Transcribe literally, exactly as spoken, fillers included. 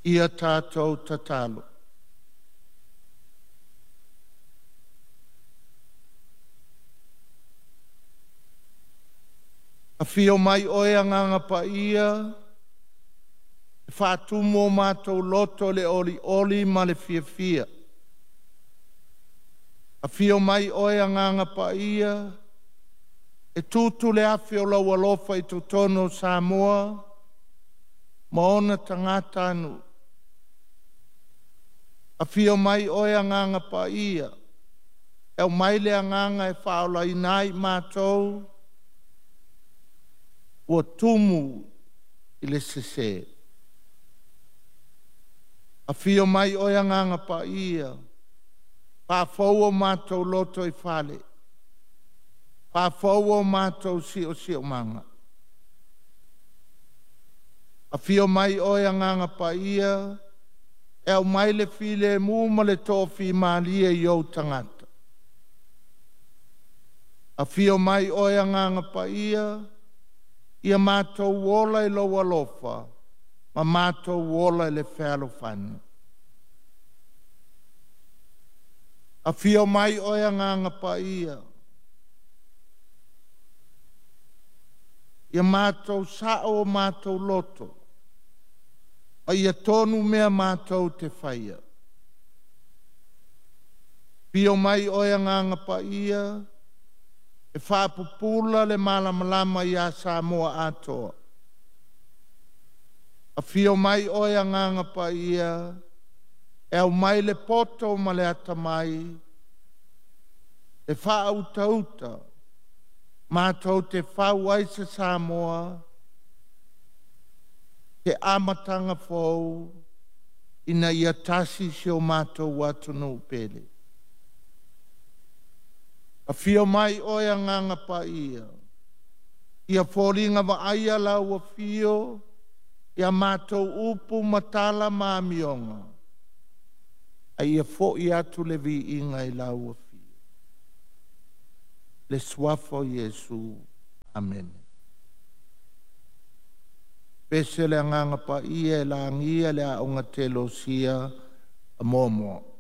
Ia tatou tatalo. Afio mai Oe Agaga Paia e faatumu o matou loto i le olioli ma le fiafia. Afio mai Oe Agaga Paia e tutu le afi o lou alofa i totonu o Samoa ma ona tagatanuu. Afio mai Oe Agaga Paia e aumai le agaga e faaolaina ai matou ua tumu i le sese. Afio mai Oe Agaga Paia, faafou o matou lotoifale, faafou o matou siosiomaga. Afio mai Oe Agaga Paia e aumai le filemu ma le toafimalie i ou tagata. Afio mai Oe Agaga Paia, ia matou ola i lou alofa ma matou ola i le fealofani. Afio mai Oe Agaga Paia, ia matou sao o matou loto, a ia tonu mea matou te faia. Afio mai Oe Agaga Paia e faapupula le malamalama ia Samoa atoa. Afio mai Oe Agaga Paia e aumai le poto ma le atamai e faautauta matou te fau ai se Samoa se amataga fou ina ia tasi si o matou atunuu pele. Afio mai Oe Agaga Paia, ia foliga vaaia lau afio ia matou upu ma tala ma amioga, a ia foi atu le viiga i lau afio. Le suafa o Iesu. Amene. Pese le Agaga Paia e lagia le Aoga Teolosia a Moamoa.